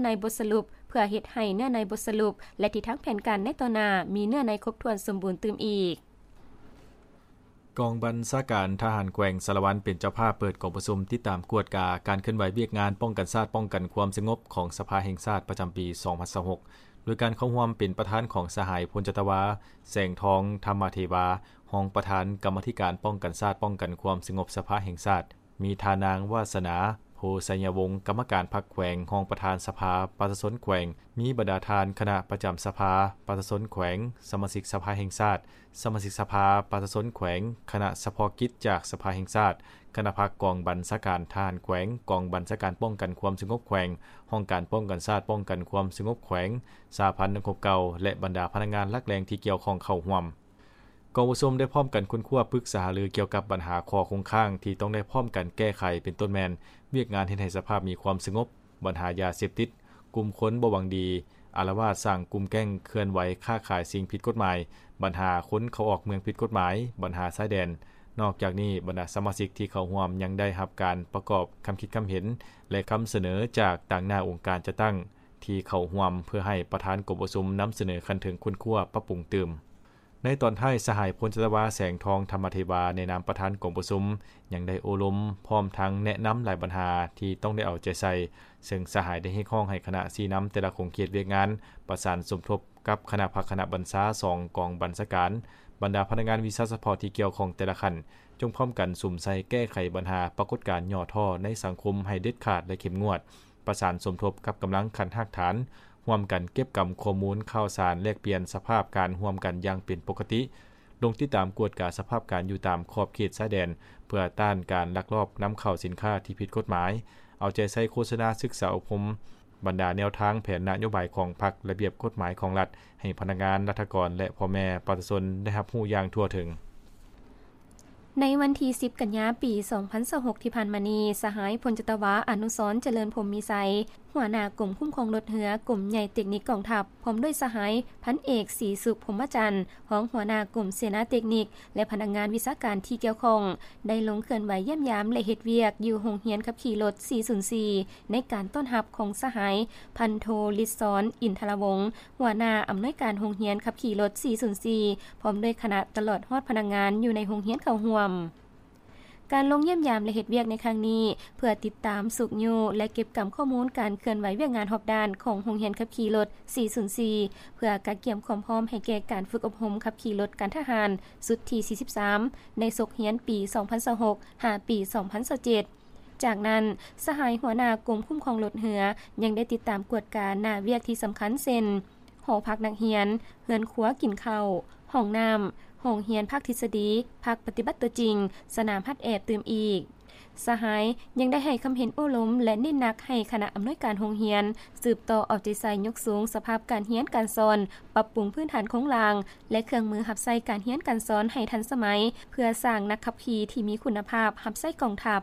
ໃນບົດສະຫຼຸບ ເພື່ອເຮັດໃຫ້ເນື້ອໃນບົດສະຫຼຸບ ແລະ ທິດທາງແຜນການໃນຕໍ່ໜ້າ ມີເນື້ອໃນຄົບຖ້ວນສົມບູນຕື່ມອີກ. ກອງບັນຊາການທະຫານແຂວງສາລະວັນ ເປັນເຈົ້າພາບເປີດກອງປະຊຸມຕິດຕາມກວດກາການເຄື່ອນໄຫວວຽກງານປ້ອງກັນຊາດ ປ້ອງກັນຄວາມສະຫງົບຂອງສະພາແຫ່ງຊາດປະຈຳປີສອງພັນຊາວຫົກ ໂດຍການເຂົ້າຮ່ວມເປັນປະທານຂອງສະຫາຍ ພົນຈັດຕະວາ ແສງທອງ ທຳມະເທວາ ຮອງປະທານກຳມາທິການປ້ອງກັນຊາດ ປ້ອງກັນຄວາມສະຫງົບສະພາແຫ່ງຊາດ, ມີທ່ານນາງ ວາສະໜາ ໂພໄຊຍະວົງ ກຳມະການພັກແຂວງ, ຮອງປະທານສະພາປະຊາຊົນແຂວງ, ມີບັນດາທ່ານຄະນະປະຈຳສະພາປະຊາຊົນແຂວງ, ສະມາຊິກສະພາແຫ່ງຊາດ, ສະມາຊິກສະພາປະຊາຊົນແຂວງ, ຄະນະສະເພາະກິດຈາກສະພາແຫ່ງຊາດ, ຄະນະພັກກອງບັນຊາການທະຫານແຂວງ, ກອງບັນຊາການປ້ອງກັນຄວາມສະຫງົບແຂວງ, ຫ້ອງການປ້ອງກັນຊາດ ປ້ອງກັນຄວາມສະຫງົບແຂວງ, ສະຫະພັນນັກຮົບເກົ່າ ແລະ ບັນດາພະນັກງານຫຼັກແຫຼ່ງທີ່ກ່ຽວຂ້ອງເຂົ້າຮ່ວມ. ກອງປະຊຸມໄດ້ພ້ອມກັນຄົ້ນຄວ້າປຶກສາຫາລືກ່ຽວກັບບັນຫາຂໍ້ຄົງຄ້າງທີ່ຕ້ອງໄດ້ພ້ອມກັນແກ້ໄຂ, ເປັນຕົ້ນແມ່ນ ວຽກງານເຮັດໃຫ້ສະພາບມີຄວາມສະຫງົບ, ບັນຫາຢາເສບຕິດ, ກຸ່ມຄົນບໍ່ຫວັງດີອາລະວາດສ້າງກຸ່ມແກ້ງເຄື່ອນໄຫວຄ້າຂາຍສິ່ງຜິດກົດໝາຍ, ບັນຫາຄົນເຂົ້າອອກເມືອງຜິດກົດໝາຍ, ບັນຫາຊາຍແດນ. ນອກຈາກນີ້, ບັນດາສະມາຊິກທີ່ເຂົ້າຮ່ວມຍັງໄດ້ຮັບການປະກອບຄຳຄິດຄຳເຫັນ ແລະ ຄຳສະເໜີຈາກຕາງໜ້າອົງການຈັດຕັ້ງທີ່ເຂົ້າຮ່ວມ ເພື່ອໃຫ້ປະທານກອງປະຊຸມນຳສະເໜີຂັ້ນເທິງຄົ້ນຄວ້າປັບປຸງຕື່ມ. ໃນຕອນທ້າຍ, ສະຫາຍ ພົນຈັດຕະວາ ແສງທອງ ທຳມະເທວາ ໃນນາມປະທານກອງປະຊຸມ ຍັງໄດ້ໂອ້ລົມ ພ້ອມທັງແນະນຳຫຼາຍບັນຫາທີ່ຕ້ອງໄດ້ເອົາໃຈໃສ່, ເຊິ່ງສະຫາຍໄດ້ຮຽກຮ້ອງໃຫ້ຄະນະຊີ້ນຳແຕ່ລະຂົງເຂດວຽກງານ ປະສານສົມທົບກັບຄະນະພັກຄະນະບັນຊາສອງກອງບັນຊາການ, ບັນດາພະນັກງານວິຊາສະເພາະທີ່ກ່ຽວຂ້ອງແຕ່ລະຂັ້ນ ຈົ່ງພ້ອມກັນສຸມໃສ່ແກ້ໄຂບັນຫາປາກົດການຫຍໍ້ທໍ້ໃນສັງຄົມໃຫ້ເດັດຂາດ ແລະ ເຂັ້ມງວດ. ປະສານສົມທົບກັບກຳລັງຂັ້ນຮາກຖານ, ຮ່ວມກັນເກັບກຳຂໍ້ມູນຂ່າວສານ, ແລກປ່ຽນສະພາບການຮ່ວມກັນຢ່າງເປັນປົກກະຕິ, ລົງຕິດຕາມກວດກາສະພາບການຢູ່ຕາມຂອບເຂດຊາຍແດນ ເພື່ອຕ້ານການລັກລອບນຳເຂົ້າສິນຄ້າທີ່ຜິດກົດໝາຍ, ເອົາໃຈໃສ່ໂຄສະນາສຶກສາອົບຮົມບັນດາແນວທາງແຜນນະໂຍບາຍຂອງພັກ, ລະບຽບກົດໝາຍຂອງລັດ ໃຫ້ພະນັກງານ, ລັດຖະກອນ ແລະ ພໍ່ແມ່ປະຊາຊົນໄດ້ຮັບຮູ້ຢ່າງທົ່ວເຖິງ. ໃນວັນທີສິບ ກັນຍາ ປີສອງພັນຊາວຫົກ ທີ່ຜ່ານມານີ້, ສະຫາຍ ພົນຈັດຕະວາ ອະນຸສອນ ຈະເລີນພົມມີໄຊ, ຫົວໜ້າກົມຄຸ້ມຄອງລົດເຮືອ ກົມໃຫຍ່ເຕັກນິກກອງທັບ, ພ້ອມດ້ວຍສະຫາຍ ພັນເອກ ສີສຸກ ພົມມະຈັນ, ຮອງຫົວໜ້າກົມເສນາເຕັກນິກ ແລະ ພະນັກງານວິຊາການທີ່ກ່ຽວຂ້ອງ ໄດ້ລົງເຄື່ອນໄຫວຢ້ຽມຢາມ ແລະ ເຮັດວຽກຢູ່ໂຮງຮຽນຂັບຂີ່ລົດ ສີ່ສູນສີ່ ໃນການຕ້ອນຮັບຂອງສະຫາຍ ພັນໂທ ລິດສອນ ອິນທະລະວົງ, ຫົວໜ້າອຳນວຍການໂຮງຮຽນຂັບຂີ່ລົດ ສີ່ສູນສີ່ ພ້ອມດ້ວຍຄະນະ ຕະຫຼອດຮອດພະນັກງານຢູ່ໃນໂຮງຮຽນເຂົ້າຮ່ວມ. ການລົງຢ້ຽມຢາມ ແລະ ເຮັດວຽກໃນຄັ້ງນີ້ ເພື່ອຕິດຕາມ, ຊຸກຍູ້ ແລະ ເກັບກຳຂໍ້ມູນການເຄື່ອນໄຫວວຽກງານຮອບດ້ານຂອງໂຮງຮຽນຂັບຂີ່ລົດ ສີ່ສູນສີ່ ເພື່ອກະກຽມຄວາມພ້ອມໃຫ້ແກ່ການຝຶກອົບຮົມຂັບຂີ່ລົດການທະຫານຊຸດທີ ສີ່ສິບສາມ ໃນສົກຮຽນປີ ສອງພັນຊາວຫົກ ຫາປີ ສອງພັນຊາວເຈັດ. ຈາກນັ້ນ, ສະຫາຍຫົວໜ້າກົມຄຸ້ມຄອງລົດເຮືອ ຍັງໄດ້ຕິດຕາມກວດກາໜ້າວຽກທີ່ສຳຄັນ ເຊັ່ນ ຫໍພັກນັກຮຽນ, ເຮືອນຄົວກິນເຂົ້າ, ຫ້ອງນ້ຳ, ໂຮງຮຽນພາກທິດສະດີ, ພາກປະຕິບັດຕົວຈິງ, ສະໜາມຫັດແອບຕື່ມອີກ. ສະຫາຍຍັງໄດ້ໃຫ້ຄຳເຫັນໂອ້ລົມ ແລະ ເນັ້ນໜັກໃຫ້ຄະນະອຳນວຍການໂຮງຮຽນ ສືບຕໍ່ເອົາໃຈໃສ່ຍົກສູງສະພາບການຮຽນການສອນ, ປັບປຸງພື້ນຖານໂຄງລ່າງ ແລະ ເຄື່ອງມືຮັບໃຊ້ການຮຽນການສອນໃຫ້ທັນສະໄໝ, ເພື່ອສ້າງນັກຂັບຂີ່ທີ່ມີຄຸນນະພາບຮັບໃຊ້ກອງທັບ.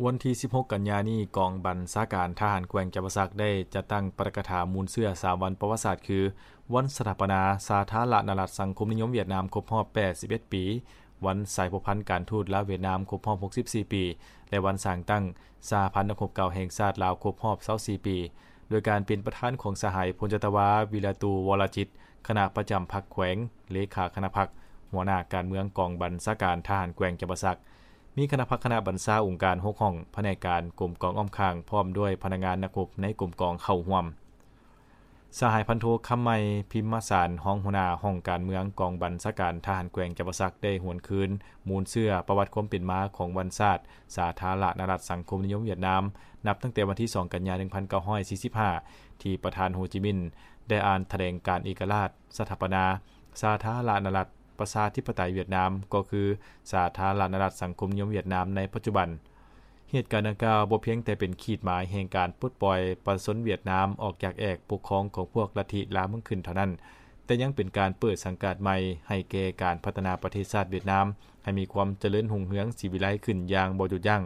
ວັນທີສິບຫົກ ກັນຍານີ້, ກອງບັນຊາການທະຫານແຂວງຈຳປາສັກ ໄດ້ຈັດຕັ້ງປາຖະກະຖາມູນເຊື້ອສາມວັນປະຫວັດສາດ ຄື ວັນສະຖາປະນາສາທາລະນະລັດສັງຄົມນິຍົມຫວຽດນາມຄົບຮອບແປດສິບເອັດປີ, ວັນສາຍພົວພັນການທູດລາວຫວຽດນາມຄົບຮອບຫົກສິບສີ່ປີ ແລະ ວັນສ້າງຕັ້ງສະຫະພັນນັກຮົບເກົ່າແຫ່ງຊາດລາວຄົບຮອບຊາວສີ່ປີ, ໂດຍການເປັນປະທານຂອງສະຫາຍ ພົນຈັດຕະວາ ວິລະຕູ ວໍລະຈິດ, ຄະນະປະຈຳພັກແຂວງ, ເລຂາຄະນະພັກ, ຫົວໜ້າການເມືອງກອງບັນຊາການທະຫານແຂວງຈຳປາສັກ. ມີຄະນະພັກຄະນະບັນຊາອົງການຫົກຫ້ອງ, ພະແນກການ, ກົມກອງອ້ອມຂ້າງ ພ້ອມດ້ວຍພະນັກງານນັກຮົບໃນກົມກອງເຂົ້າຮ່ວມ. ສະຫາຍພັນໂທ ຄຳໃໝ ພິມມະສານ, ຮອງຫົວໜ້າຫ້ອງການເມືອງກອງບັນຊາການທະຫານແຂວງຈຳປາສັກ ໄດ້ຫວນຄືນມູນເຊື້ອປະຫວັດຄວາມເປັນມາຂອງວັນຊາດສາທາລະນະລັດສັງຄົມນິຍົມຫວຽດນາມ, ນັບຕັ້ງແຕ່ວັນທີສອງ ກັນຍາ ໜຶ່ງພັນເກົ້າຮ້ອຍສີ່ສິບຫ້າ ທີ່ປະທານໂຮຈິມິນ ໄດ້ອ່ານຖະແຫຼງການເອກະລາດ, ສະຖາປະນາ ສາທາລະນະລັດ ປະຊາທິປະໄຕຫວຽດນາມ ກໍຄື ສາທາລະນະລັດສັງຄົມນິຍົມຫວຽດນາມໃນປັດຈຸບັນ. ເຫດການດັ່ງກ່າວບໍ່ພຽງແຕ່ເປັນຂີດໝາຍແຫ່ງການປົດປ່ອຍປະຊາຊົນຫວຽດນາມອອກຈາກແອກປົກຄອງຂອງພວກລັດທິລາວເມືອງຂຶ້ນເທົ່ານັ້ນ, ແຕ່ຍັງເປັນການເປີດສັງກາດໃໝ່ໃຫ້ແກ່ການພັດທະນາປະເທດຊາດຫວຽດນາມໃຫ້ມີຄວາມຈະເລີນຮຸ່ງເຮືອງສີວິໄລຂຶ້ນຢ່າງບໍ່ຢຸດຢັ້ງ.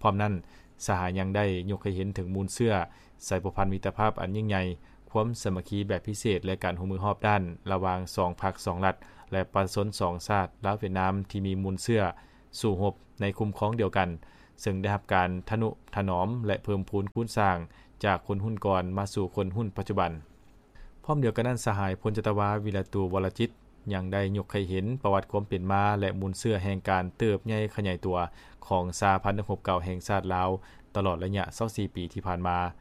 ພ້ອມນັ້ນ, ສະຫາຍຍັງໄດ້ຍົກໃຫ້ເຫັນເຖິງມູນເຊື້ອ ສາຍພົວພັນມິດຕະພາບອັນຍິ່ງໃຫຍ່, ຄວາມສາມັກຄີແບບພິເສດ ແລະ ການຮ່ວມມືຮອບດ້ານລະຫວ່າງສອງພັກສອງລັດ ແລະ ປະຊາຊົນສອງຊາດ ລາວ-ຫວຽດນາມ ທີ່ມີມູນເຊື້ອສູ້ຮົບໃນຄຸ້ມຄອງດຽວກັນ, ເຊິ່ງໄດ້ຮັບການທະນຸຖະໜອມ ແລະ ເພີ່ມພູນຄູນສ້າງຈາກຄົນຮຸ່ນກ່ອນມາສູ່ຄົນຮຸ່ນປັດຈຸບັນ. ພ້ອມດຽວກັນນັ້ນ, ສະຫາຍ ພົນຈັດຕະວາ ວິລະຕູ ວໍລະຈິດ ຍັງໄດ້ຍົກໃຫ້ເຫັນປະຫວັດຄວາມເປັນມາ ແລະ ມູນເຊື້ອແຫ່ງການເຕີບໃຫຍ່ຂະຫຍາຍຕົວຂອງສະຫະພັນນັກຮົບເກົ່າແຫ່ງຊາດລາວ ຕະຫຼອດໄລຍະຊາວສີ່ປີທີ່ຜ່ານມາ.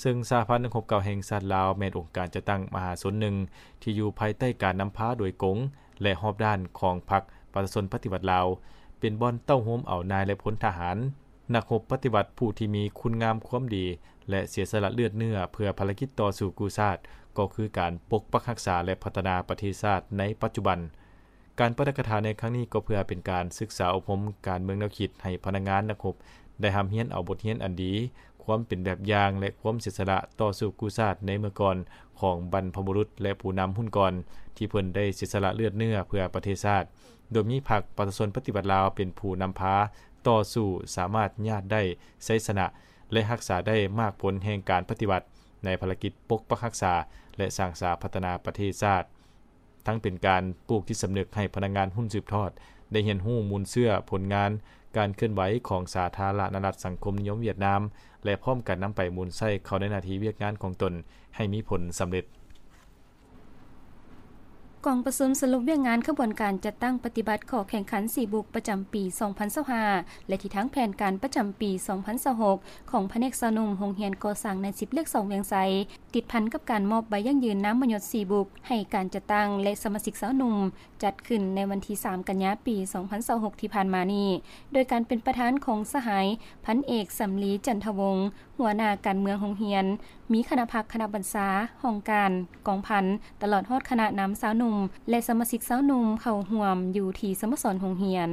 ເຊິ່ງສະຫະພັນນັກຮົບເກົ່າແຫ່ງຊາດລາວ ແມ່ນອົງການຈັດຕັ້ງມະຫາຊົນໜຶ່ງ ທີ່ຢູ່ພາຍໃຕ້ການນຳພາໂດຍກົງ ແລະ ຮອບດ້ານຂອງພັກປະຊາຊົນປະຕິວັດລາວ, ເປັນບ່ອນເຕົ້າໂຮມເອົານາຍ ແລະ ພົນທະຫານ ນັກຮົບປະຕິວັດຜູ້ທີ່ມີຄຸນງາມຄວາມດີ ແລະ ເສຍສະຫຼະເລືອດເນື້ອເພື່ອພາລະກິດຕໍ່ສູ້ກູ້ຊາດ, ກໍຄືການປົກປັກຮັກສາ ແລະ ພັດທະນາປະເທດຊາດໃນປັດຈຸບັນ. ການປາຖະກະຖາໃນຄັ້ງນີ້ກໍເພື່ອເປັນການສຶກສາອົບຮົມການເມືອງແນວຄິດໃຫ້ພະນັກງານນັກຮົບໄດ້ຮ່ຳຮຽນເອົາບົດຮຽນອັນດີ, ຄວາມເປັນແບບຢ່າງ ແລະ ຄວາມເສຍສະຫຼະຕໍ່ສູ້ກູ້ຊາດໃນເມື່ອກ່ອນຂອງບັນພະບຸລຸດ ແລະ ຜູ້ນຳຮຸ່ນກ່ອນ ທີ່ເພິ່ນໄດ້ເສຍສະຫຼະເລືອດເນື້ອເພື່ອປະເທດຊາດ, ໂດຍມີພັກປະຊາຊົນປະຕິວັດລາວເປັນຜູ້ນຳພາຕໍ່ສູ້, ສາມາດຍາດໄດ້ໄຊຊະນະ ແລະ ຮັກສາໄດ້ໝາກຜົນແຫ່ງການປະຕິວັດໃນພາລະກິດປົກປັກຮັກສາ ແລະ ສ້າງສາພັດທະນາປະເທດຊາດ. ທັງເປັນການປູກຈິດສຳນຶກໃຫ້ພະນັກງານຮຸ່ນສືບທອດໄດ້ຮຽນຮູ້ມູນເຊື້ອຜົນງານການເຄື່ອນໄຫວຂອງສາທາລະນະລັດສັງຄົມນິຍົມຫວຽດນາມ ແລະ ພ້ອມກັນນຳໄປໝູນໃຊ້ເຂົ້າໃນໜ້າທີ່ວຽກງານຂອງຕົນໃຫ້ມີຜົນສຳເລັດ. ກອງປະຊຸມສະຫຼຸບວຽກງານຂະບວນການຈັດຕັ້ງປະຕິບັດຂໍ້ແຂ່ງຂັນສີ່ບຸກປະຈຳປີສອງພັນຊາວຫ້າ ແລະ ທິດທາງແຜນການປະຈຳປີສອງພັນຊາວຫົກ ຂອງພະແນກຊາວໜຸ່ມໂຮງຮຽນກໍ່ສ້າງນາຍສິບເລກສອງວຽງໄຊ ຕິດພັນກັບການມອບໃບຢັ້ງຢືນນາມມະຍົດສີ່ບຸກໃຫ້ການຈັດຕັ້ງ ແລະ ສະມາຊິກຊາວໜຸ່ມ ຈັດຂຶ້ນໃນວັນທີສາມ ກັນຍາ ປີສອງພັນຊາວຫົກ ທີ່ຜ່ານມານີ້ ໂດຍການເປັນປະທານຂອງສະຫາຍ ພັນເອກ ສຳລີ ຈັນທະວົງ ຫົວໜ້າການເມືອງໂຮງຮຽນ, ມີຄະນະພັກ, ຄະນະບັນຊາ, ຫ້ອງການ, ກອງພັນ, ຕະຫຼອດຮອດຄະນະນຳຊາວໜຸ່ມ ແລະ ສະມາຊິກຊາວໜຸ່ມເຂົ້າຮ່ວມຢູ່ທີ່ສະໂມສອນໂຮງຮຽນ.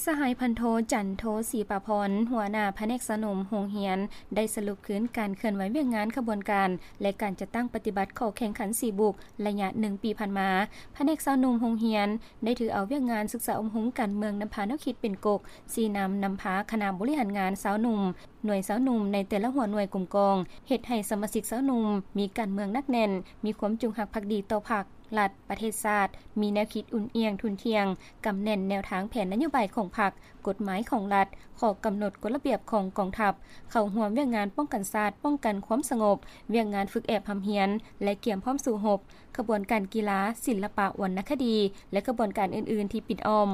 ສະຫາຍ ພັນໂທ ຈັນໂທ ສີປາພອນ ຫົວໜ້າພະແນກຊາວໜຸ່ມໂຮງຮຽນ ໄດ້ສະຫຼຸບຄືນການເຄື່ອນໄຫວວຽກງານຂະບວນການ ແລະ ການຈັດຕັ້ງປະຕິບັດຂໍ້ແຂ່ງຂັນສີ່ບຸກ ໄລຍະໜຶ່ງປີຜ່ານມາ. ພະແນກຊາວໜຸ່ມໂຮງຮຽນ ໄດ້ຖືເອົາວຽກງານສຶກສາອົບຮົມການເມືອງນຳພາແນວຄິດເປັນກົກ, ຊີ້ນຳນຳພາຄະນະບໍລິຫານງານຊາວໜຸ່ມ, ໜ່ວຍຊາວໜຸ່ມໃນແຕ່ລະຫົວໜ່ວຍກົມກອງ, ເຮັດໃຫ້ສະມາຊິກຊາວໜຸ່ມມີການເມືອງໜັກແໜ້ນ, ມີຄວາມຈົງຮັກພັກດີຕໍ່ພັກ, ລັດ, ປະເທດຊາດ, ມີແນວຄິດອຸ່ນອຽງທຸ່ນທ່ຽງ, ກຳແໜ້ນແນວທາງແຜນນະໂຍບາຍຂອງພັກ, ກົດໝາຍຂອງລັດ, ຂໍ້ກຳນົດກົດລະບຽບຂອງກອງທັບ, ເຂົ້າຮ່ວມວຽກງານປ້ອງກັນຊາດ, ປ້ອງກັນຄວາມສະຫງົບ, ວຽກງານຝຶກແອບຮ່ຳຮຽນ ແລະ ກຽມພ້ອມສູ້ຮົບ, ຂະບວນການກິລາ, ສິນລະປະ, ວັນນະຄະດີ ແລະ ຂະບວນການອື່ນໆທີ່ປິດອ້ອມ.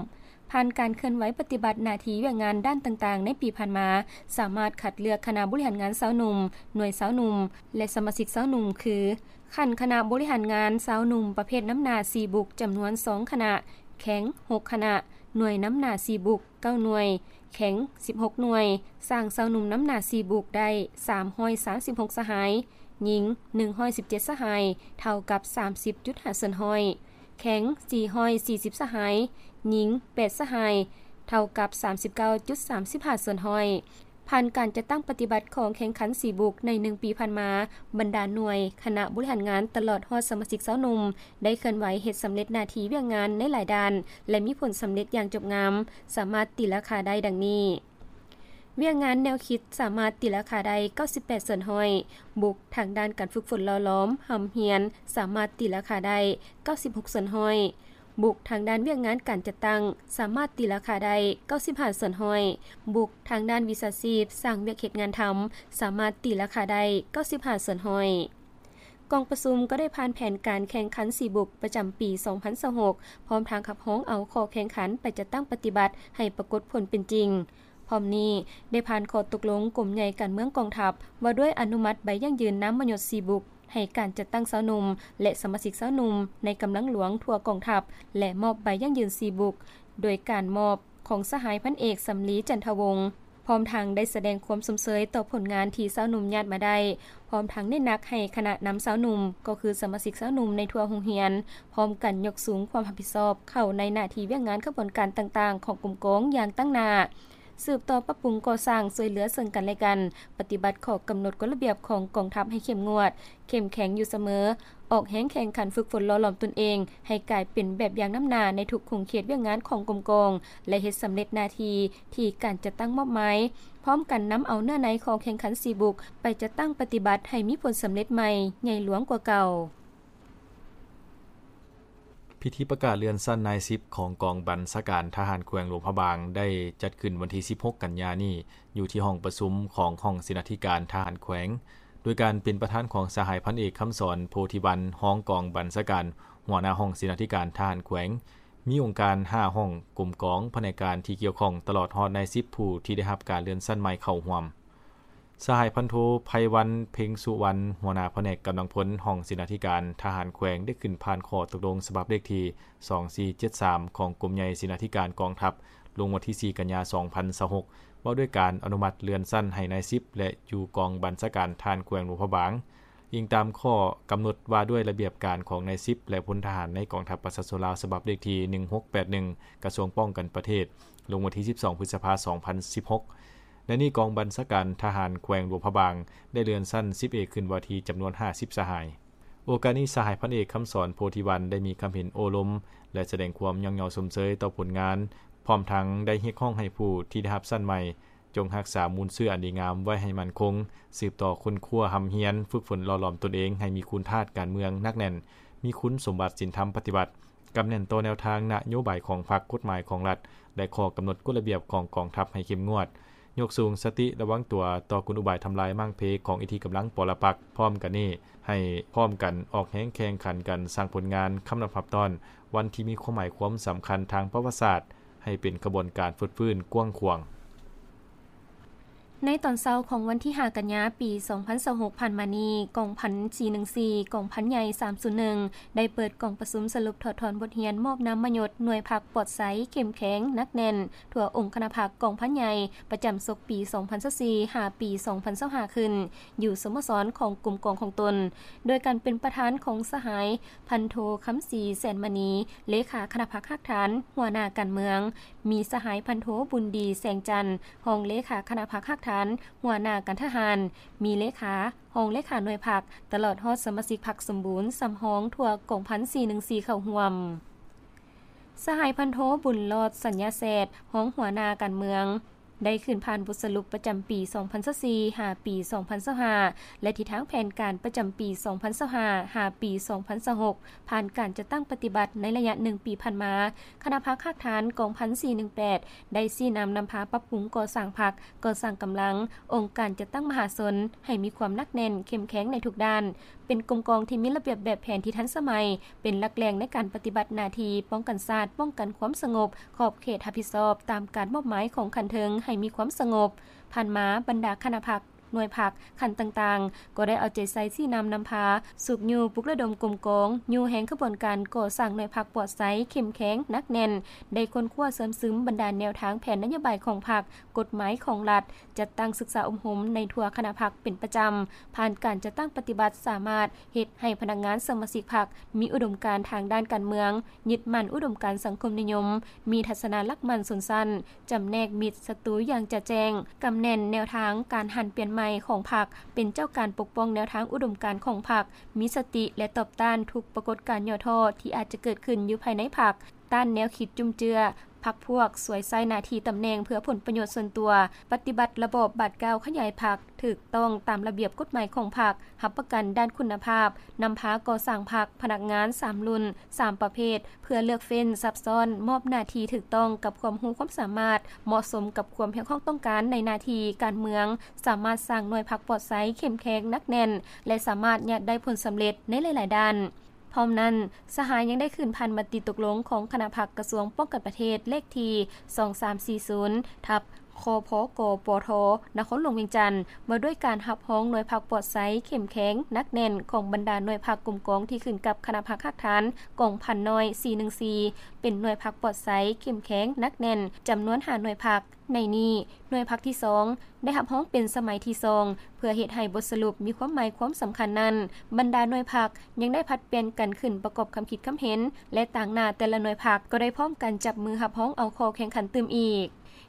ຜ່ານການເຄື່ອນໄຫວປະຕິບັດໜ້າທີ່ວຽກງານດ້ານຕ່າງໆໃນປີຜ່ານມາ, ສາມາດຄັດເລືອກຄະນະບໍລິຫານງານຊາວໜຸ່ມ, ໜ່ວຍຊາວໜຸ່ມ ແລະ ສະມາຊິກຊາວໜຸ່ມ ຄື ຂັ້ນຄະນະບໍລິຫານງານຊາວໜຸ່ມປະເພດນຳໜ້າສີ່ບຸກ ຈຳນວນສອງຄະນະ, ແຂງຫົກຄະນະ, ໜ່ວຍນຳໜ້າສີ່ບຸກ ເກົ້າໜ່ວຍ, ແຂງສິບຫົກໜ່ວຍ, ສ້າງຊາວໜຸ່ມນຳໜ້າສີ່ບຸກໄດ້ສາມຮ້ອຍສາມສິບຫົກສະຫາຍ, ຍິງໜຶ່ງຮ້ອຍສິບເຈັດສະຫາຍ ເທົ່າກັບສາມສິບຈຸດຫ້າສ່ວນຮ້ອຍ, ແຂງສີ່ຮ້ອຍສີ່ສິບສະຫາຍ, ຍິງແປດສະຫາຍ ເທົ່າກັບສາມສິບເກົ້າຈຸດສາມສິບຫ້າສ່ວນຮ້ອຍ. ຜ່ານການຈັດຕັ້ງປະຕິບັດຂອງແຂ່ງຂັນສີ່ບຸກໃນໜຶ່ງປີຜ່ານມາ, ບັນດາໜ່ວຍ, ຄະນະບໍລິຫານງານ ຕະຫຼອດຮອດສະມາຊິກຊາວໜຸ່ມ ໄດ້ເຄື່ອນໄຫວເຮັດສຳເລັດໜ້າທີ່ວຽກງານໃນຫຼາຍດ້ານ ແລະ ມີຜົນສຳເລັດຢ່າງຈົບງາມ, ສາມາດຕີລາຄາໄດ້ດັ່ງນີ້. ວຽກງານແນວຄິດສາມາດຕີລາຄາໄດ້ເກົ້າສິບແປດສ່ວນຮ້ອຍ, ບຸກທາງດ້ານການຝຶກຝົນຫຼໍ່ຫຼອມ, ຮ່ຳຮຽນ ສາມາດຕີລາຄາໄດ້ເກົ້າສິບຫົກສ່ວນຮ້ອຍ, ບຸກທາງດ້ານວຽກງານການຈັດຕັ້ງ ສາມາດຕີລາຄາໄດ້ເກົ້າສິບຫ້າສ່ວນຮ້ອຍ, ບຸກທາງດ້ານວິຊາຊີບ, ສ້າງວຽກເຮັດງານທຳ ສາມາດຕີລາຄາໄດ້ເກົ້າສິບຫ້າສ່ວນຮ້ອຍ. ກອງປະຊຸມກໍໄດ້ຜ່ານແຜນການແຂ່ງຂັນສີ່ບຸກປະຈຳປີສອງພັນຊາວຫົກ ພ້ອມທັງຮັບຮອງເອົາຂໍ້ແຂ່ງຂັນໄປຈັດຕັ້ງປະຕິບັດໃຫ້ປາກົດຜົນເປັນຈິງ. ພ້ອມນີ້ ໄດ້ຜ່ານຂໍ້ຕົກລົງກົມໃຫຍ່ການເມືອງກອງທັບ ວ່າດ້ວຍອະນຸມັດໃບຢັ້ງຢືນນາມມະຍົດສີ່ບຸກ ໃຫ້ການຈັດຕັ້ງຊາວໜຸ່ມ ແລະ ສະມາຊິກຊາວໜຸ່ມໃນກຳລັງຫຼວງທົ່ວກອງທັບ ແລະ ມອບໃບຢັ້ງຢືນສີ່ບຸກ ໂດຍການມອບຂອງສະຫາຍພັນເອກ ສຳລີ ຈັນທະວົງ. ພ້ອມທັງໄດ້ສະແດງຄວາມຊົມເຊີຍຕໍ່ຜົນງານທີ່ຊາວໜຸ່ມຍາດມາໄດ້, ພ້ອມທັງເນັ້ນໜັກໃຫ້ຄະນະນຳຊາວໜຸ່ມ ກໍຄືສະມາຊິກຊາວໜຸ່ມໃນທົ່ວໂຮງຮຽນ ພ້ອມກັນຍົກສູງຄວາມຮັບຜິດຊອບເຂົ້າໃນໜ້າທີ່ວຽກງານຂະບວນການຕ່າງໆຂອງກົມກອງຢ່າງຕັ້ງໜ້າ, ສືບຕໍ່ປັບປຸງກໍ່ສ້າງຊ່ວຍເຫຼືອເຊິ່ງກັນແລະກັນ, ປະຕິບັດຂໍ້ກຳນົດກົດລະບຽບຂອງກອງທັບໃຫ້ເຂັ້ມງວດ, ເຂັ້ມແຂງຢູ່ສະເໝີ, ອອກແຮງແຂ່ງຂັນຝຶກຝົນຫຼໍ່ຫຼອມຕົນເອງໃຫ້ກາຍເປັນແບບຢ່າງນຳໜ້າໃນທຸກຂົງເຂດວຽກງານຂອງກົມກອງ ແລະ ເຮັດສຳເລັດໜ້າທີ່ທີ່ການຈັດຕັ້ງມອບໝາຍ, ພ້ອມກັນນຳເອົາເນື້ອໃນຂໍ້ແຂ່ງຂັນສີ່ບຸກໄປຈັດຕັ້ງປະຕິບັດໃຫ້ມີຜົນສຳເລັດໃໝ່ໃຫຍ່ຫຼວງກວ່າເກົ່າ. ພິທີປະກາດເລື່ອນຊັ້ນນາຍສິບຂອງກອງບັນຊາການທະຫານແຂວງຫຼວງພະບາງ ໄດ້ຈັດຂຶ້ນວັນທີສິບຫົກ ກັນຍານີ້ ຢູ່ທີ່ຫ້ອງປະຊຸມຂອງຫ້ອງເສນາທິການທະຫານແຂວງ ໂດຍການເປັນປະທານຂອງສະຫາຍພັນເອກ ຄຳສອນ ໂພທິວັນ ຮອງກອງບັນຊາການ ຫົວໜ້າຫ້ອງເສນາທິການທະຫານແຂວງ, ມີອົງການຫ້າຫ້ອງ, ກົມກອງ, ພະແນກການທີ່ກ່ຽວຂ້ອງ ຕະຫຼອດຮອດນາຍສິບຜູ້ທີ່ໄດ້ຮັບການເລື່ອນຊັ້ນໃໝ່ເຂົ້າຮ່ວມ. ສະຫາຍພັນໂທ ໄພວັນ ເພັງສຸວັນ ຫົວໜ້າພະແນກກຳລັງພົນ ຫ້ອງເສນາທິການທະຫານແຂວງ ໄດ້ຂຶ້ນຜ່ານຂໍ້ຕົກລົງສະບັບເລກທີສອງສີ່ເຈັດສາມ ຂອງກົມໃຫຍ່ເສນາທິການກອງທັບ ລົງວັນທີສີ່ ກັນຍາ ສອງພັນຊາວຫົກ ວ່າດ້ວຍການອະນຸມັດເລື່ອນຊັ້ນໃຫ້ນາຍສິບ ແລະ ຢູ່ກອງບັນຊາການທະຫານແຂວງຫຼວງພະບາງ. ອີງຕາມຂໍ້ກຳນົດວ່າດ້ວຍລະບຽບການຂອງນາຍສິບ ແລະ ພົນທະຫານໃນກອງທັບປະຊາຊົນລາວ ສະບັບເລກທີໜຶ່ງຫົກແປດໜຶ່ງ ກະຊວງປ້ອງກັນປະເທດ ລົງວັນທີສິບສອງ ພຶດສະພາ ສອງພັນສິບຫົກ. ໃນນີ້ກອງບັນຊາການທະຫານແຂວງຫຼວງພະບາງ ໄດ້ເລື່ອນຊັ້ນສິບເອກຂຶ້ນວ່າທີຈຳນວນຫ້າສິບສະຫາຍ. ໂອກາດນີ້ ສະຫາຍພັນເອກ ຄຳສອນ ໂພທິວັນ ໄດ້ມີຄຳເຫັນໂອ້ລົມ ແລະ ສະແດງຄວາມຍ້ອງຍໍຊົມເຊີຍຕໍ່ຜົນງານ, ພ້ອມທັງໄດ້ຮຽກຮ້ອງໃຫ້ຜູ້ທີ່ໄດ້ຮັບຊັ້ນໃໝ່ ຈົ່ງຮັກສາມູນເຊື້ອອັນດີງາມໄວ້ໃຫ້ໝັ້ນຄົງ, ສືບຕໍ່ຄົ້ນຄວ້າຮ່ຳຮຽນ, ຝຶກຝົນຫຼໍ່ຫຼອມຕົນເອງໃຫ້ມີຄຸນທາດການເມືອງໜັກແໜ້ນ, ມີຄຸນສົມບັດສິນທຳປະຕິວັດ, ກຳແໜ້ນຕໍ່ແນວທາງນະໂຍບາຍຂອງພັກ, ກົດໝາຍຂອງລັດ ແລະ ຂໍ້ກຳນົດກົດລະບຽບຂອງກອງທັບໃຫ້ເຂັ້ມງວດ, ຍົກສູງສະຕິລະວັງຕົວຕໍ່ກົນອຸບາຍທຳລາຍມ້າງເພຂອງອິດທິກຳລັງປໍລະປັກ. ພ້ອມກັນນີ້ ໃຫ້ພ້ອມກັນອອກແຮງແຂ່ງຂັນກັນສ້າງຜົນງານຄຳນັບຮັບຕ້ອນວັນທີ່ມີຄວາມໝາຍຄວາມສຳຄັນທາງປະຫວັດສາດ ໃຫ້ເປັນຂະບວນການຟົດຟື້ນກວ້າງຂວາງ. ໃນຕອນເຊົ້າຂອງວັນທີຫ້າ ກັນຍາ ປີສອງພັນຊາວຫົກ ຜ່ານມານີ້, ກອງພັນສີ່ໜຶ່ງສີ່ ກອງພັນໃຫຍ່ສາມສູນໜຶ່ງ ໄດ້ເປີດກອງປະຊຸມສະຫຼຸບຖອດຖອນບົດຮຽນມອບນາມມະຍົດໜ່ວຍພັກປອດໃສ, ເຂັ້ມແຂງ, ໜັກແໜ້ນ ທົ່ວອົງຄະນະພັກກອງພັນໃຫຍ່ ປະຈຳສົກປີສອງພັນຊາວສີ່ ຫາປີສອງພັນຊາວຫ້າ ຂຶ້ນ ຢູ່ສະໂມສອນຂອງກົມກອງຂອງຕົນ, ໂດຍການເປັນປະທານຂອງສະຫາຍພັນໂທ ຄຳສີ ແສນມະນີ ເລຂາຄະນະພັກຮາກຖານ ຫົວໜ້າການເມືອງ, ມີສະຫາຍພັນໂທ ບຸນດີ ແສງຈັນ ຮອງເລຂາຄະນະພັກຮາກຖານ ຫົວໜ້າການທະຫານ, ມີເລຂາ, ຮອງເລຂາໜ່ວຍພັກ ຕະຫຼອດຮອດສະມາຊິກພັກສົມບູນສຳຮອງທົ່ວກອງພັນສີ່ໜຶ່ງສີ່ ເຂົ້າຮ່ວມ. ສະຫາຍພັນໂທ ບຸນລອດ ສັນຍາແຊດ ຮອງຫົວໜ້າການເມືອງ ໄດ້ຂຶ້ນຜ່ານບົດສະຫຼຸບປະຈຳປີສອງພັນຊາວສີ່ ຫາປີສອງພັນຊາວຫ້າ ແລະ ທິດທາງແຜນການປະຈຳປີສອງພັນຊາວຫ້າ ຫາປີສອງພັນຊາວຫົກ ຜ່ານການຈັດຕັ້ງປະຕິບັດໃນໄລຍະໜຶ່ງປີຜ່ານມາ, ຄະນະພັກຮາກຖານກອງພັນສີ່ໜຶ່ງແປດ ໄດ້ຊີ້ນຳນຳພາປັບປຸງກໍ່ສ້າງພັກ, ກໍ່ສ້າງກຳລັງ, ອົງການຈັດຕັ້ງມະຫາຊົນ ໃຫ້ມີຄວາມໜັກແໜ້ນ, ເຂັ້ມແຂງໃນທຸກດ້ານ, ເປັນກົມກອງທີ່ມີລະບຽບແບບແຜນທີ່ທັນສະໄໝ, ເປັນຫຼັກແຫຼ່ງໃນການປະຕິບັດໜ້າທີ່ປ້ອງກັນຊາດ, ປ້ອງກັນຄວາມສະຫງົບ, ຂອບເຂດຮັບຜິດຊອບຕາມການມອບໝາຍຂອງຂັ້ນເທິງໃຫ້ມີຄວາມສະຫງົບ. ຜ່ານມາ, ບັນດາຄະນະພັກ, ໜ່ວຍພັກ, ຂັ້ນຕ່າງໆ ກໍໄດ້ເອົາໃຈໃສ່ຊີ້ນຳນຳພາ, ຊຸກຍູ້ປຸກລະດົມກົມກອງ, ຍູ້ແຮງຂະບວນການກໍ່ສ້າງໜ່ວຍພັກປອດໃສ, ເຂັ້ມແຂງ, ໜັກແໜ້ນ, ໄດ້ຄົ້ນຄວ້າເຊື່ອມຊຶມບັນດາແນວທາງແຜນນະໂຍບາຍຂອງພັກ, ກົດໝາຍຂອງລັດ, ຈັດຕັ້ງສຶກສາອົບຮົມໃນທົ່ວຄະນະພັກເປັນປະຈຳ, ຜ່ານການຈັດຕັ້ງປະຕິບັດສາມາດເຮັດໃຫ້ພະນັກງານສະມາຊິກພັກມີອຸດົມການທາງດ້ານການເມືອງ, ຍຶດໝັ້ນອຸດົມການສັງຄົມນິຍົມ, ມີທັດສະນະຫຼັກໝັ້ນຊົນຊັ້ນ, ຈຳແນກມິດສັດຕູຢ່າງຈະແຈ້ງ, ກຳແໜ້ນແນວທາງການຫັນປ່ຽນໃໝ່ຂອງພັກ, ເປັນເຈົ້າການປົກປ້ອງແນວທາງອຸດົມການຂອງພັກ, ມີສະຕິ ແລະ ຕອບຕ້ານທຸກປາກົດການຫຍໍ້ທໍ້ທີ່ອາດຈະເກີດຂຶ້ນຢູ່ພາຍໃນພັກ, ຕ້ານແນວຄິດຈຸ້ມເຈື້ອພັກພວກ, ສວຍໃຊ້ໜ້າທີ່ຕຳແໜ່ງເພື່ອຜົນປະໂຫຍດສ່ວນຕົວ, ປະຕິບັດລະບອບບາດກ້າວຂະຫຍາຍພັກ, ຖືກຕ້ອງຕາມລະບຽບກົດໝາຍຂອງພັກ, ຮັບປະກັນດ້ານຄຸນນະພາບ, ນຳພາກໍ່ສ້າງພັກ, ພະນັກງານສາມລຸ້ນ, ສາມປະເພດ, ເພື່ອເລືອກເຟ້ນ, ສັບຊ້ອນ, ມອບໜ້າທີ່ຖືກຕ້ອງກັບຄວາມຮູ້ຄວາມສາມາດ, ເໝາະສົມກັບຄວາມຮຽກຮ້ອງຕ້ອງການໃນໜ້າທີ່ການເມືອງ, ສາມາດສ້າງໜ່ວຍພັກປອດໃສ, ເຂັ້ມແຂງ, ໜັກແໜ້ນ ແລະ ສາມາດຍາດໄດ້ຜົນສຳເລັດໃນຫຼາຍໆດ້ານ. ພ້ອມນັ້ນ, ສະຫາຍຍັງໄດ້ຂຶ້ນຜ່ານມະຕິຕົກລົງຂອງຄະນະພັກກະຊວງປ້ອງກັນປະເທດ ເລກທີສອງສາມສີ່ສູນ ທັບ ຄພກປທ ນະຄອນຫຼວງວຽງຈັນ ວ່າດ້ວຍການຮັບຮອງໜ່ວຍພັກປອດໃສ, ເຂັ້ມແຂງ, ໜັກແໜ້ນ ຂອງບັນດາໜ່ວຍພັກກົມກອງທີ່ຂຶ້ນກັບຄະນະພັກຮາກຖານກອງພັນນ້ອຍ ສີ່ໜຶ່ງສີ່ ເປັນໜ່ວຍພັກປອດໃສ, ເຂັ້ມແຂງ, ໜັກແໜ້ນ ຈຳນວນຫ້າໜ່ວຍພັກ. ໃນນີ້, ໜ່ວຍພັກທີສອງ ໄດ້ຮັບຮອງເປັນສະໄໝທີສອງ. ເພື່ອເຮັດໃຫ້ບົດສະຫຼຸບມີຄວາມໝາຍຄວາມສຳຄັນນັ້ນ, ບັນດາໜ່ວຍພັກຍັງໄດ້ຜັດປ່ຽນກັນຂຶ້ນປະກອບຄຳຄິດຄຳເຫັນ ແລະ ຕາງໜ້າແຕ່ລະໜ່ວຍພັກກໍໄດ້ພ້ອມກັນຈັບມືຮັບຮອງເອົາຂໍ້ແຂ່ງຂັນຕື່ມອີກ.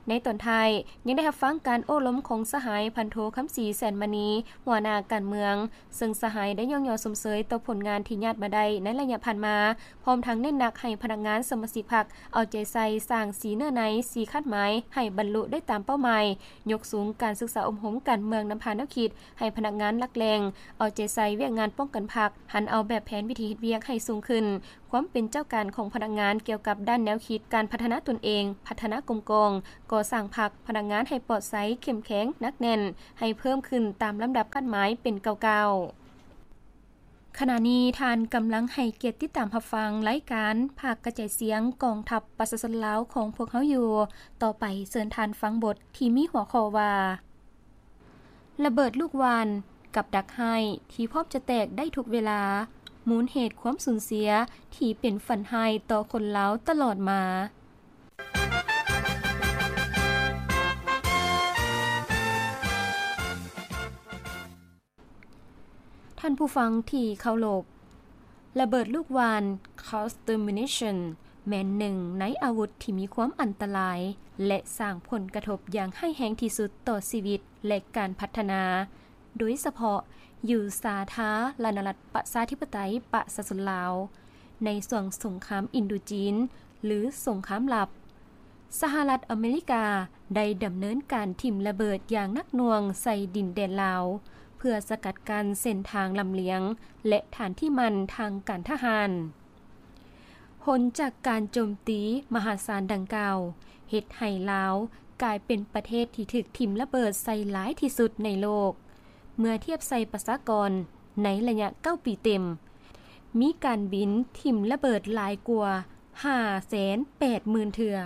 ໃນຕອນທ້າຍ ຍັງໄດ້ຮັບຟັງການໂອ້ລົມຂອງສະຫາຍພັນໂທ ຄຳສີ ແສນມະນີ ຫົວໜ້າການເມືອງ, ເຊິ່ງສະຫາຍໄດ້ຍ້ອງຍໍຊົມເຊີຍຕໍ່ຜົນງານທີ່ຍາດມາໄດ້ໃນໄລຍະຜ່ານມາ, ພ້ອມທັງເນັ້ນໜັກໃຫ້ພະນັກງານສະມາຊິກພັກເອົາໃຈໃສ່ສ້າງສີເນື້ອໃນ, ສີຄາດໝາຍໃຫ້ບັນລຸໄດ້ຕາມເປົ້າໝາຍ, ຍົກສູງການສຶກສາອົບຮົມການເມືອງນຳພາແນວຄິດໃຫ້ພະນັກງານຫຼັກແຫຼ່ງ, ເອົາໃຈໃສ່ວຽກງານປ້ອງກັນພັກ, ຫັນເອົາແບບແຜນວິທີເຮັດວຽກໃຫ້ສູງຂຶ້ນ, ຄວາມເປັນເຈົ້າການຂອງພະນັກງານກ່ຽວກັບດ້ານແນວຄິດການພັດທະນາຕົນເອງ, ພັດທະນາກົມກອງ, ກໍ່ສ້າງພັກ, ພະນັກງານໃຫ້ປອດໃສ, ເຂັ້ມແຂງ, ໜັກແໜ້ນ, ໃຫ້ເພີ່ມຂຶ້ນຕາມລຳດັບຄາດໝາຍເປັນກ້າວໆ. ຂະນະນີ້ທ່ານກຳລັງໃຫ້ກຽດຕິດຕາມຮັບຟັງລາຍການພາກກະຈາຍສຽງກອງທັບປະຊາຊົນລາວຂອງພວກເຮົາຢູ່. ຕໍ່ໄປເຊີນທ່ານຟັງບົດທີ່ມີຫົວຂໍ້ວ່າ ລະເບີດລູກຫວ່ານ ກັບດັກຮ້າຍທີ່ພ້ອມຈະແຕກໄດ້ທຸກເວລາ, ມູນເຫດຄວາມສູນເສຍທີ່ເປັນຝັນຮ້າຍຕໍ່ຄົນລາວຕະຫຼອດມາ. ທ່ານຜູ້ຟັງທີ່ເຄົາລົບ, ລະເບີດລູກຫວ່ານ Cluster Munition ແມ່ນໜຶ່ງໃນອາວຸດທີ່ມີຄວາມອັນຕະລາຍ ແລະ ສ້າງຜົນກະທົບຢ່າງຮ້າຍແຮງທີ່ສຸດຕໍ່ຊີວິດ ແລະ ການພັດທະນາ, ໂດຍສະເພາະຢູ່ສາທາລະນະລັດປະຊາທິປະໄຕປະຊາຊົນລາວ ໃນຊ່ວງສົງຄາມອິນໂດຈີນ ຫຼື ສົງຄາມລັບ. ສະຫະລັດອາເມລິກາໄດ້ດຳເນີນການຖິ້ມລະເບີດຢ່າງໜັກໜ່ວງໃສ່ດິນແດນລາວ ເພື່ອສະກັດກັ້ນເສັ້ນທາງລຳລຽງ ແລະ ຖານທີ່ໝັ້ນທາງການທະຫານ. ຜົນຈາກການໂຈມຕີມະຫາສານດັ່ງກ່າວ ເຮັດໃຫ້ລາວກາຍເປັນປະເທດທີ່ຖືກຖິ້ມລະເບີດໃສ່ຫຼາຍທີ່ສຸດໃນໂລກ ເມື່ອທຽບໃສ່ປະຊາກອນໃນໄລຍະເກົ້າປີເຕັມ. ມີການບິນຖິ້ມລະເບີດຫຼາຍກວ່າຫ້າແສນແປດໝື່ນເທື່ອ,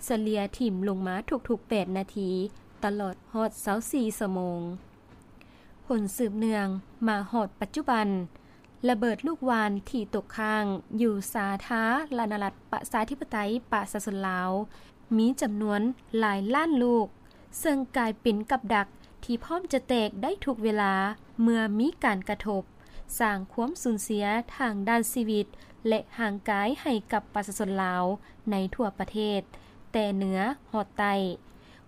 ສະເລ່ຍຖິ້ມລົງມາທຸກໆແປດນາທີ ຕະຫຼອດຮອດຊາວສີ່ຊົ່ວໂມງ. ຜົນສືບເນື່ອງມາຮອດປັດຈຸບັນ, ລະເບີດລູກຫວ່ານທີ່ຕົກຄ້າງຢູ່ສາທາລະນະລັດປະຊາທິປະໄຕປະຊາຊົນລາວ ມີຈຳນວນຫຼາຍລ້ານລູກ, ເຊິ່ງກາຍເປັນກັບດັກທີ່ພ້ອມຈະແຕກໄດ້ທຸກເວລາເມື່ອມີການກະທົບ, ສ້າງຄວາມສູນເສຍທາງດ້ານຊີວິດ ແລະ ຮ່າງກາຍໃຫ້ກັບປະຊາຊົນລາວໃນທົ່ວປະເທດ, ແຕ່ເໜືອຮອດໃຕ້.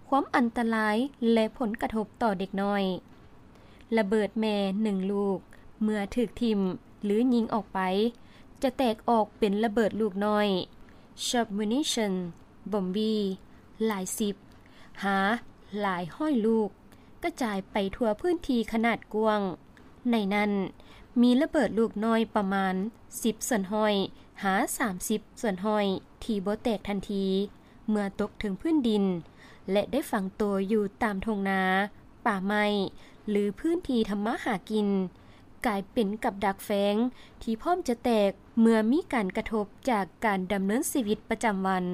ຄວາມອັນຕະລາຍ ແລະ ຜົນກະທົບຕໍ່ເດັກນ້ອຍ. ລະເບີດແມ່ໜຶ່ງລູກ ເມື່ອຖືກຖິ້ມ ຫຼື ຍິງອອກໄປ ຈະແຕກອອກເປັນລະເບີດລູກນ້ອຍ Submunition Bomb ຫຼາຍສິບ ຫາຫຼາຍຮ້ອຍລູກ ກະຈາຍໄປທົ່ວພື້ນທີ່ຂະໜາດກວ້າງ. ໃນນັ້ນ ມີລະເບີດລູກນ້ອຍປະມານສິບສ່ວນຮ້ອຍ ຫາສາມສິບສ່ວນຮ້ອຍ ທີ່ບໍ່ແຕກທັນທີ ເມື່ອຕົກເຖິງພື້ນດິນ ແລະ ໄດ້ຝັງໂຕຢູ່ຕາມທົ່ງນາ, ປ່າໄມ້ ຫຼື ພື້ນທີ່ທຳມາຫາກິນ, ກາຍເປັນກັບດັກແຝງທີ່ພ້ອມຈະແຕກເມື່ອມີການກະທົບຈາກການດຳເນີນຊີວິດປະຈຳວັນ.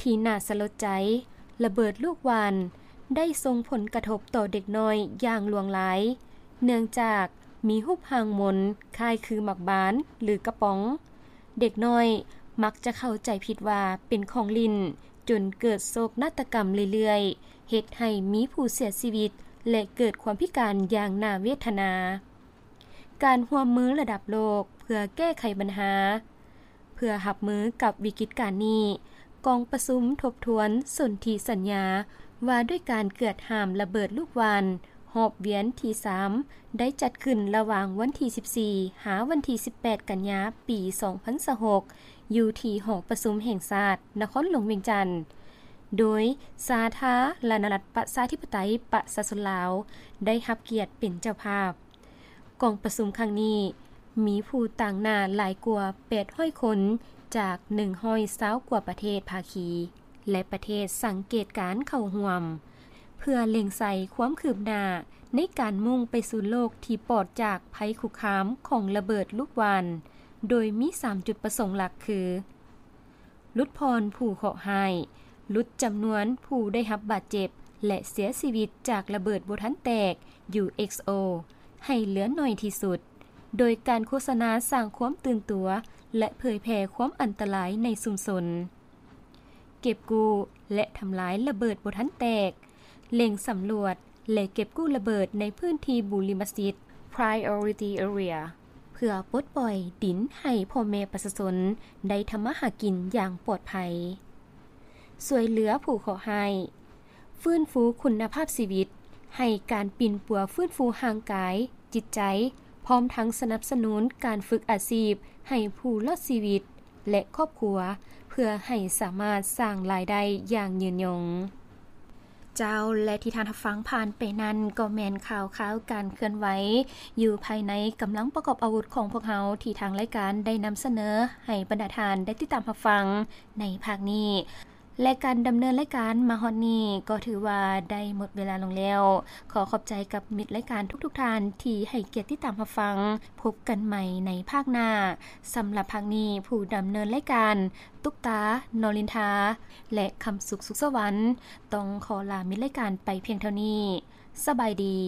ທີ່ໜ້າສະຫຼົດໃຈ, ລະເບີດລູກຫວ່ານໄດ້ສົ່ງຜົນກະທົບຕໍ່ເດັກນ້ອຍຢ່າງຫຼວງຫຼາຍ, ເນື່ອງຈາກມີຮູບຮ່າງມົນຄ້າຍຄືໝາກບານ ຫຼື ກະປ໋ອງ. ເດັກນ້ອຍມັກຈະເຂົ້າໃຈຜິດວ່າເປັນຂອງຫຼິ້ນ, ຈົນເກີດໂສກນາດຕະກຳເລື້ອຍໆ, ເຮັດໃຫ້ມີຜູ້ເສຍຊີວິດ ແລະ ເກີດຄວາມພິການຢ່າງໜ້າເວທະນາ. ການຮ່ວມມືລະດັບໂລກເພື່ອແກ້ໄຂບັນຫາ. ເພື່ອຮັບມືກັບວິກິດການນີ້, ກອງປະຊຸມທົບທວນສົນທິສັນຍາວ່າດ້ວຍການເກືອດຫ້າມລະເບີດລູກຫວ່ານ ຮອບວຽນທີສາມ ໄດ້ຈັດຂຶ້ນລະຫວ່າງວັນທີສິບສີ່ ຫາວັນທີສິບແປດ ກັນຍາ ປີສອງພັນຊາວຫົກ ຢູ່ທີ່ຫໍປະຊຸມແຫ່ງຊາດ ນະຄອນຫຼວງວຽງຈັນ, ໂດຍສາທາລະນະລັດປະຊາທິປະໄຕປະຊາຊົນລາວ ໄດ້ຮັບກຽດເປັນເຈົ້າພາບ. ກອງປະຊຸມຄັ້ງນີ້ ມີຜູ້ຕາງໜ້າຫຼາຍກວ່າແປດຮ້ອຍຄົນ ຈາກໜຶ່ງຮ້ອຍຊາວກວ່າປະເທດພາຄີ ແລະ ປະເທດສັງເກດການເຂົ້າຮ່ວມ, ເພື່ອເລັງໃສ່ຄວາມຄືບໜ້າໃນການມຸ່ງໄປສູ່ໂລກທີ່ປອດຈາກໄພຄຸກຄາມຂອງລະເບີດລູກຫວ່ານ, ໂດຍມີສາມຈຸດປະສົງຫຼັກຄື ຫຼຸດຜ່ອນຜູ້ເຄາະຮ້າຍ, ຫຼຸດຈຳນວນຜູ້ໄດ້ຮັບບາດເຈັບ ແລະ ເສຍຊີວິດຈາກລະເບີດບໍ່ທັນແຕກ UXO ໃຫ້ເຫຼືອໜ້ອຍທີ່ສຸດ, ໂດຍການໂຄສະນາສ້າງຄວາມຕື່ນຕົວ ແລະ ເຜີຍແຜ່ຄວາມອັນຕະລາຍໃນຊຸມຊົນ. ເກັບກູ້ ແລະ ທຳລາຍລະເບີດບໍ່ທັນແຕກ, ເລັ່ງສຳຫຼວດ ແລະ ເກັບກູ້ລະເບີດໃນພື້ນທີ່ບຸລິມະສິດ Priority Area ເພື່ອປົດປ່ອຍດິນໃຫ້ພໍ່ແມ່ປະຊາຊົນໄດ້ທຳມາຫາກິນຢ່າງປອດໄພ. ຊ່ວຍເຫຼືອຜູ້ເຄາະຮ້າຍ, ຟື້ນຟູຄຸນນະພາບຊີວິດ, ໃຫ້ການປິ່ນປົວຟື້ນຟູຮ່າງກາຍ, ຈິດໃຈ, ພ້ອມທັງສະໜັບສະໜູນການຝຶກອາຊີບໃຫ້ຜູ້ລອດຊີວິດ ແລະ ຄອບຄົວ ເພື່ອໃຫ້ສາມາດສ້າງລາຍໄດ້ຢ່າງຍືນຍົງ. ເຈົ້າ ແລະ ທີ່ທ່ານຮັບຟັງຜ່ານໄປນັ້ນ ກໍແມ່ນຂ່າວຄາວການເຄື່ອນໄຫວຢູ່ພາຍໃນກຳລັງປະກອບອາວຸດຂອງພວກເຮົາ ທີ່ທາງລາຍການໄດ້ນຳສະເໜີໃຫ້ບັນດາທ່ານໄດ້ຕິດຕາມຮັບຟັງໃນພາກນີ້. ແລະ ການດຳເນີນລາຍການມາຮອດນີ້ກໍຖືວ່າໄດ້ໝົດເວລາລົງແລ້ວ. ຂໍຂອບໃຈກັບມິດລາຍການທຸກໆທ່ານທີ່ໃຫ້ກຽດຕິດຕາມຮັບຟັງ. ພົບກັນໃໝ່ໃນພາກໜ້າ. ສຳລັບພາກນີ້ ຜູ້ດຳເນີນລາຍການ ຕຸກຕາ ນໍລິນທາ ແລະ ຄຳສຸກ ສຸກສະຫວັນ ຕ້ອງຂໍລາມິດລາຍການໄປພຽງເທົ່ານີ້. ສະບາຍດີ.